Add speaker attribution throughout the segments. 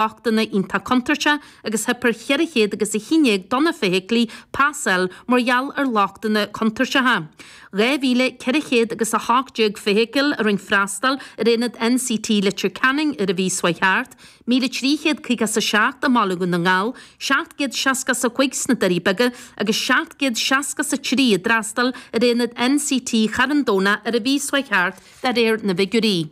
Speaker 1: Lochtanna iontach contúirteach agus theip ar 400 agus 11 de na feithiclí pasáil mar gheall ar lochtanna contúirteacha. 2,400 agus 18 feithicil a rinne freastal ar aonad NCT Leitir Ceanainn ar an mhí seo thart, 1,357 i mBaile Dhún na nGall, 765 sna Doirí Beaga agus 763 a d'fhreastail ar aonad NCT Charn Domhnach ar an mhí seo thart de réir na bhfigiúirí.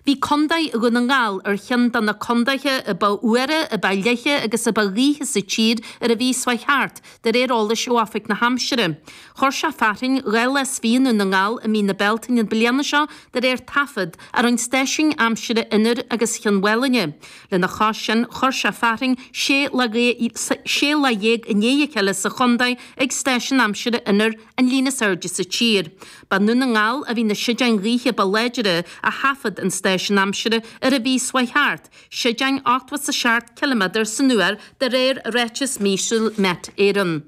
Speaker 1: Bhí Contae Dhún na nGall ar cheann de na contaetha a ba fhuaire, a ba fhliche agus a ba ghaoithe sa tír ar an mhí seo thart, de réir eolais ó Oifig na hAimsire. Chuir sé fearthainn 2 lá is fiche i nDún na nGall i mí na Bealtaine na bliana seo, de réir taifead a rinne stáisiúin aimsire Inbhir agus Chionn Mhálanna. Lena chois sin, chuir sé fearthainn 16 lá i ndiaidh a chéile sa chontae ag stáisiún aimsire Inbhir, an líon is airde sa tír. Ba i nDún na nGall a bhí na séideáin ghaoithe ba láidre a thaifead an stáisiún aimsire ar an mhí seo thart, séideáin 87 ciliméadar san uair de réir ráiteas míosúil Met Éireann.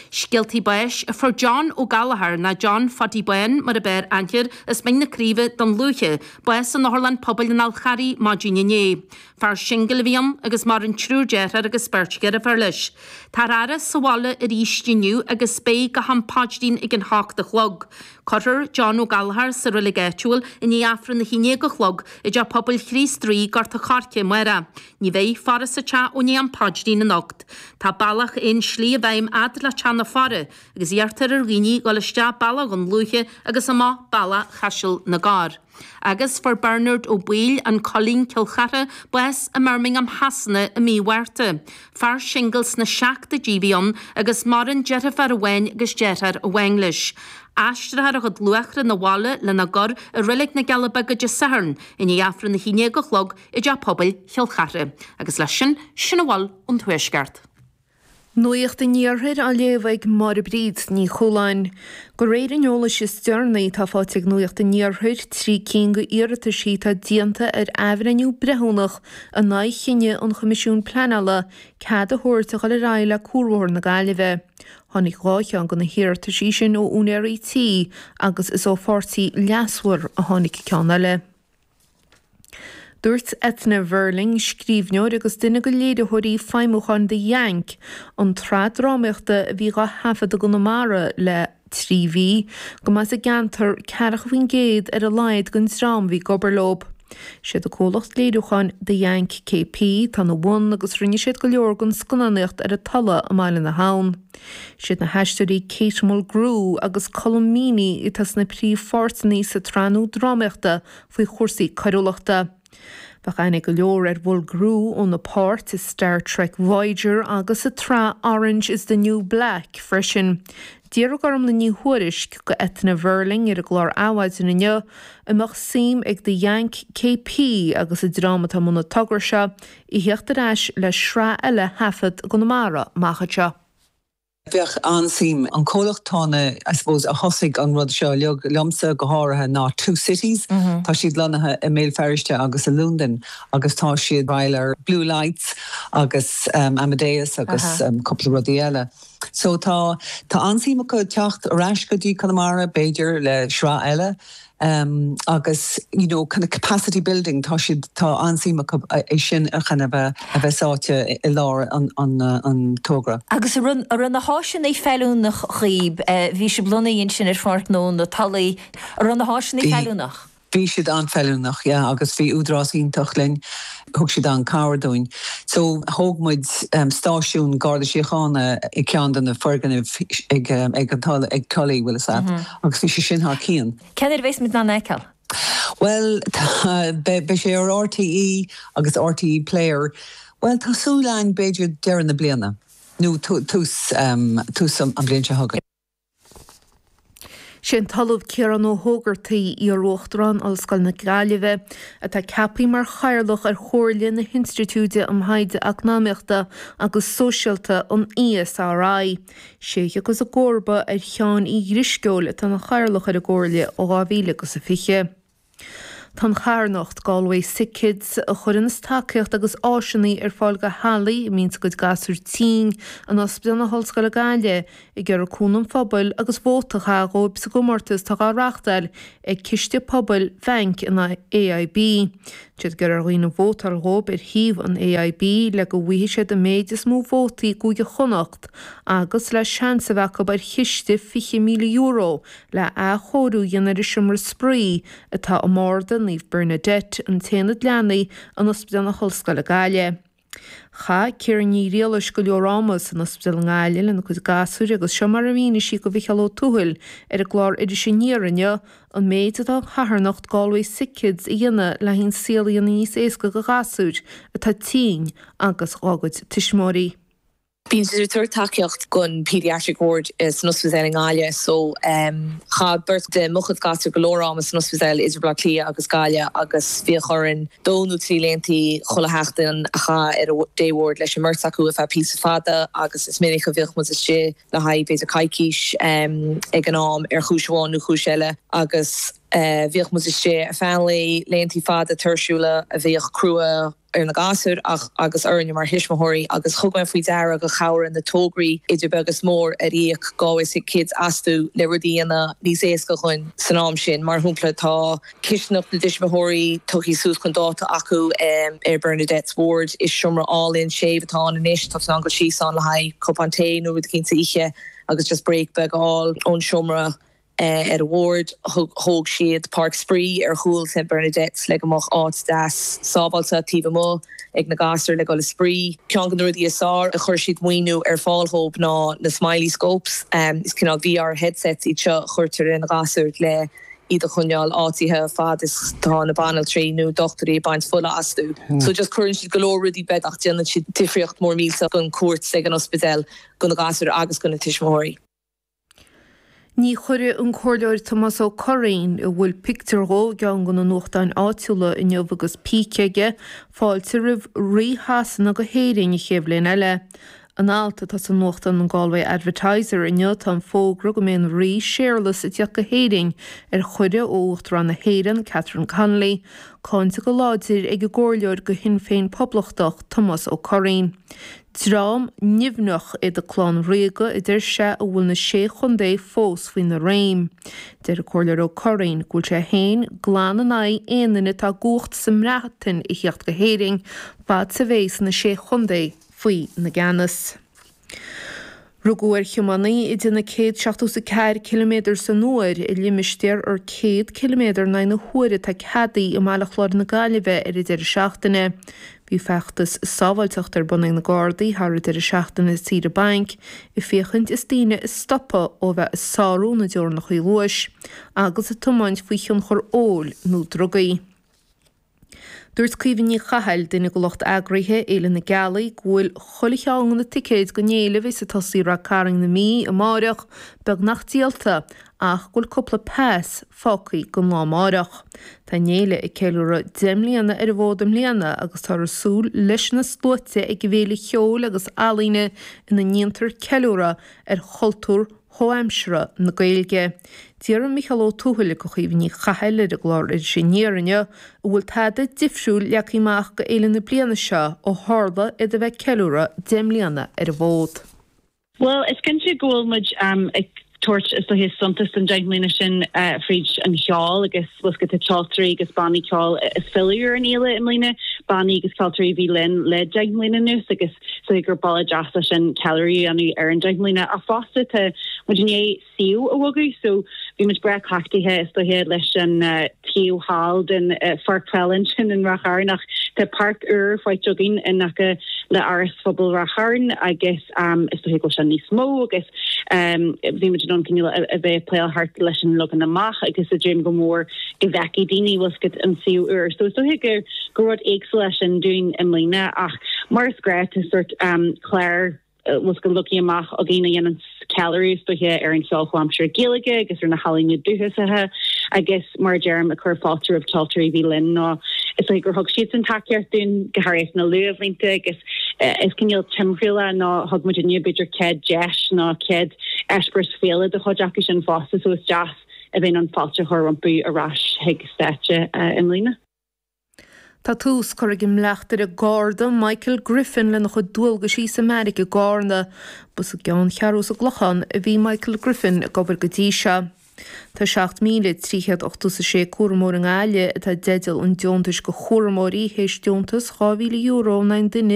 Speaker 1: Scéaltaí báis, Fuair John Ó Gallchóir, nó John Phaidí Bán mar ab fhearr aithne air, as Mín na Craoibhe, Dún Lúiche, bás in Otharlann Pobail an Fhál Charraigh maidin inné. Fear singil a bhí ann agus maireann triúr deartháir agus beirt dheirféar leis. Táthar á fhaire sa bhaile arís inniu agus beidh go ham paidrín ag an hocht a chlog. Cuirfear John Ó Gallchóir sa reilig áitiúil i ndiaidh Aifreann a haon déag a chlog i dTeach Pobail Chríost Rí, Gort a' Choirce amárach. Ní bheidh faire sa teach ó ndiaidh am paidrín anocht. Tá bealach aon slí i bhfeidhm fhad le teach na faire agus iarrtar ar dhaoine dhul isteach bealach Dhún Lúiche agus amach bealach Chaiseal na gCorr. Agus fuair Bernard Ó Baoill, An Coillín, Cill Chartha, bás i mBirmingham Shasana i mí Mhárta. Fear singil sna seachtóidí a bhí ann agus maireann deirfiúr amháin agus deartháir amháin leis. Aistreofar a chuid luachra 'na bhaile lena gcur i Reilig na gCealla Beaga Dé Sathairn i ndiaidh Aifreann 11 a chlog i dTeach Pobail Chill Chartha. Agus leis sin, sin a bhfuil ón Tuaisceart.
Speaker 2: Nuacht an Iarthair á léamh ag Máire Bríd Ní Chualáin. De réir an eolais is deireanaí atá faighte ag Nuacht an Iarthair, 3 cinn de iarrataisí atá déanta ar athbhreithniú breithiúnach in aghaidh chinneadh an Choimisiúin Pleanála cead a thabhairt a dhul ar aghaidh le Cuarbhóthar na Gaillimhe. Tháinig 2 cheann de na hiarrataisí sin ó úinéirí tí agus is ó pháirtí leasmhar a tháinig ceann eile. Dúirt Eithne Verling, scríbhneoir agus duine de léiritheoirí feidhmiúcháin The Yank, an tsraith drámaíochta a bhí dhá thaifead i gConamara le 3 mhí, go mba as an gceantar 40% ar a laghad den dream a bhí ag obair leo. Siad an comhlacht léiriúcháin The Yank KP atá ina bhun agus rinne siad go leor den scannánaíocht ar an Tulaigh i mBaile na hAbhann. Siad na haisteoirí Kate Mulgrew agus Colm Meaney atá sna príomhpháirteanna sa tsraith nua drámaíochta faoi chúrsaí coiriúlachta. Bheadh aithne ag go leor ar Mhulgrew óna páirt i Star Trek Voyager agus sa tsraith Orange is the New Black freisin. D'fhiafraigh Gormlaith Ní Thuairisg de Eithne Verling ar an gclár Adhmhaidin inniu an mbeadh suim ag The Yank KP agus an dream atá i mbun an togra seo a theacht ar ais le sraith eile a thaifead i gConamara amach anseo.
Speaker 3: Bheadh an-suim. An comhlacht atá na, I suppose, a thosaigh an rud seo uilig, liomsa go háirithe, ná Two Cities. Tá siad lonnaithe i mBéal Feirste agus i Londain agus tá siad ag obair ar Blue Lights agus Amadeus agus cúpla rudaí eile. So tá, tá an-suim acu teacht ar ais go dtí Conamara, b'fhéidir, le sraith eile. Agus you know kind of capacity building, tá siad, tá an-suim acu é sin a kind of a bheith sáite i lár an an togra.
Speaker 4: Agus an raibh, an raibh na háiseanna feiliúnach dhaoib, bhí sibh lonnaithe ansin ar Pháirc Gnó na Tulaí, an raibh na háiseanna feiliúnach?
Speaker 3: Bhí siad an-fheiliúnach, yeah, agus bhí údarás iontach linn, thug siad an-cabhair dúinn. So thóg muid stáisiún Garda Síochána i gceann de na foirgnimh ag ag an Tulaigh, ag Tully, bhfuil fhios a't, agus bhí sé sin thar cionn.
Speaker 4: Cén uair a bheas muid in ann é a fheiceáil?
Speaker 3: Bhuel, tá, beidh sé ar RTÉ agus RTÉ Player, bhuel tá súil againn b'fhéidir deireadh na bliana nó tús, tús an bhliain seo chugainn.
Speaker 2: Sé an tOllamh Ciarán Ó hÓgartaigh, iar-Uachtarán Ollscoil na Gaillimhe, atá ceaptha mar Chathaoirleach ar Chomhairle na hInstitiúide um Thaighde Eacnamaíochta agus Sóisialta, an ESRI. Sé a thiocfas i gcomharba ar Sheán Uí Dhrisceoil atá ina Chathaoirleach ar an gComhairle ó 2020. Tá an charthanacht, Galway Sick Kids, a chuireanns tacaíocht agus áiseanna ar fáil do theaghlaigh a mbíonns a gcuid gasúir tinn in Ospidéal na hOllscoile Gaillimh, ag iarraidh cúnamh an phobail agus vóta a chaitheamh dhóibh sa gcomórtas atá dhá reachtáil ag Ciste Pobail Bhanc an AIB. Tá siad ag iarraidh ar dhaoine vótáil dhóibh ar shuíomh an AIB le go bhfaighidh siad an méid is mó vótaí i gCúige Chonnacht agus le seans a bheith acu ar chiste €20,000 le athchóiriú a dhéanamh ar an seomra spraoi atá i mbarda Naomh Bernadette, an t-aonad leanaí in Ospidéal na hOllscoile Gaillimh. Chaith Ciara Ní Ghriallais go leor ama san ospidéal i nGaillimh lena cuid gasúir agus seo mar a mhínigh sí do Mhicheál Ó Tuathail ar an gclár Iris Aniar inniu an méid atá an charthanacht Galway Sick Kids a dhéanamh le haghaidh an saol a dhéanamh níos éasca do ghasúir atá tinn agus dhá gcuid tuismitheoirí.
Speaker 5: Bíonn siad ag tabhairt tacaíocht don Paediatric Ward san ospidéal i nGaillimh so chaith beirt de mo chuid gasúr go leor ama san ospidéal idir Baile Átha Cliath agus Gaillimh agus bhíodh orainn dó nó trí laethanta chuile sheachtain a chaitheamh ar an day ward leis an mbeirt acu ar feadh píosa fada agus is minic a bhíodh muid istigh le haghaidh b'fhéidir coicís ag an am ar chúis amháin nó chúis eile agus bhíodh muid istigh ar feadh an lae, laethanta fada tuirsiúla a bhíodh crua. ar na gasúir ach agus orainne mar thuismitheoirí agus thug mé faoi deara gur chabhraigh na tograí idir beag is mór ar íoc Galway Sick Kids astu le rudaí a dhéanamh níos éasca dhúinn san am sin. Mar shampla tá cistineach na dtuismitheoirí tugtha suas chun dáta acu ar Bernadette's Ward. Is seomra álainn séimh atá ann anois, tá tú in ann dul síos ann le haghaidh cupán tae nó rud eicínt a ithe agus just break beag a fháil ón seomra. Ar an ward, thóg siad páirc spraoi ar chúl St Bernadette's le go mbeadh áit deas sábháilte taobh amuigh ag na gasúir le dul ag spraoi. Ceann de na rudaí is fearr a chuir siad maoiniú ar fáil dhóibh ná na Smiley Scopes. Is cineál VR headsets iad seo a chuirtear ar na gasúir le iad a choinneáil áitithe fad is tá na banaltraí nó dochtúirí ag baint fola astu. So just cuireann siad go leor rudaí beaga ach déanann siad difríocht mór millteach don cuairt ag an ospidéal do na gasúir agus do na tuismitheoirí.
Speaker 2: Ní chuirfidh an Comhairleoir Tomás Ó Curraoin, a bhfuil pictiúr dhó i gceann de na nuachtáin áitiúla inniu agus píce aige, fáilte roimh Rí Shasana go hÉirinn an chéad bhliain eile. In alt atá sa nuachtán an Galway Advertiser inniu tá an fógra go mbeidh an Rí Séarlas ag tíocht go hÉirinn ar chuireadh ó Uachtarán na hÉireann, Catherine Connolly, cáinte go láidir ag an gComhairleoir do Shinn Féin Poblachtach, Tomás Ó Curraoin. Dream nimhneach iad an clann ríoga a deir sé a bhfuil na sé chontae fós faoina réim. Deir an Comhairleoir Ó Curraoin go bhfuil sé féin glan in aghaidh aon duine atá i gcumhacht sa mBreatain a thíocht go hÉirinn fad 's a bhéas na sé chontae faoi na gceannas. Rugadh ar thiománaí ag déanamh 174 ciliméadar san uair i limistéar ar 100 ciliméadar in aghaidh na huaire atá ceadaithe i mBaile Chláir na Gaillimhe ar an deireadh seachtaine. Bhí feachtas sábháilteachta ar bun ag na Gardaí thar an deireadh seachtaine saoire bainc ag féachaint is daoine a stopadh ó bheith ag sárú na dteorainneacha luais agus ag tiomáint faoi thionchar óil nó drugaí. Dúirt Caoimhe Ní Chathail, duine de lucht eagraithe Fhéile na Gealaí, go bhfuil chuile cheann de na ticéid don fhéile a bheas ag tosaí i Rath Cairn na Mí amáireach beagnach díolta ach go bhfuil cúpla pas fágtha don lá amáireach. Tá an fhéile ag ceiliúradh 10 mbliana ar an bhfód i mbliana agus táthar ag súil leis na sluaite ag an bhféile cheoil agus ealaíne ina ndéantar ceiliúradh ar chultúr chomhaimseartha na Gaeilge. D'fhiafraigh Micheál Ó Tuathail de Chaoimhe Ní Chathail ar an gclár Iris Aniar inniu an bhfuil tada difriúil leagtha amach go fhéile na bliana seo ó tharla iad a bheith ag ceiliúradh 10 mbliana ar an bhfód.
Speaker 6: Bhuel, is cinnte go bhfuil muid ag tabhairt, is dóiche, suntas don 10 mbliana sin fríd an cheol agus bhfuil 's agat tá ceoltóirí agus bannaí ceoil ag filleadh ar an fhéile i mbliana, bannaí agus ceoltóirí a bhí linn le 10 mbliana anuas agus is dóiche gur bealach deas é sin ceiliúradh a dhéanamh ar an 10 mbliana. Ach fosta tá muid i ndiaidh suíomh a bhogadh so bhí muid breá cleachtaithe is dóiche leis an taobh thall den pháirc peile ansin in Ráth Chairn ach tá páirc úr faighte againn in aice le Áras Phobail Ráth Chairn agus is dóiche go bhfuil sé níos mó agus bhí muid in ann cineál a bheith ag pléáil thart leis an leagan amach agus ag dréim go mór go bhfeicfidh daoine bhfuil 's agat an suíomh úr. So is dóiche gur gur rud éagsúil é sin dúinn i mbliana ach mar is gnách tá sórt clár bhfuil 's agat leagtha amach againn a dhéanann ceiliúradh is dóiche ar an cheol chomhaimseartha Gaeilge agus ar na healaíona dúchasacha agus mar a deirim ag cur fáilte roimh ceoltóirí a bhí linn nó is dóiche gur thug siadsan tacaíocht dúinn go háirithe sna luathbhlianta agus is cineál timthriall é nó thug muidinne b'fhéidir céad deis nó céad eispéireas féile do chuid acu sin fosta so is deas. a bheith in ann fáilte a chur rompu ar ais chuig stáitse i mbliana.
Speaker 2: Tá tús curtha ag an mbleachtaire Garda Michael Griffin lena chuid dualgaisí sa mbeairic i gCarna. Ba sa gceanncheathrú sa gClochán a bhí Michael Griffin ag obair go dtí seo. Tá 7,386 cúramóir i nGaillimh atá i dteideal an deontais do chúramóirí théis deontas €2,000 in aghaidh an duine.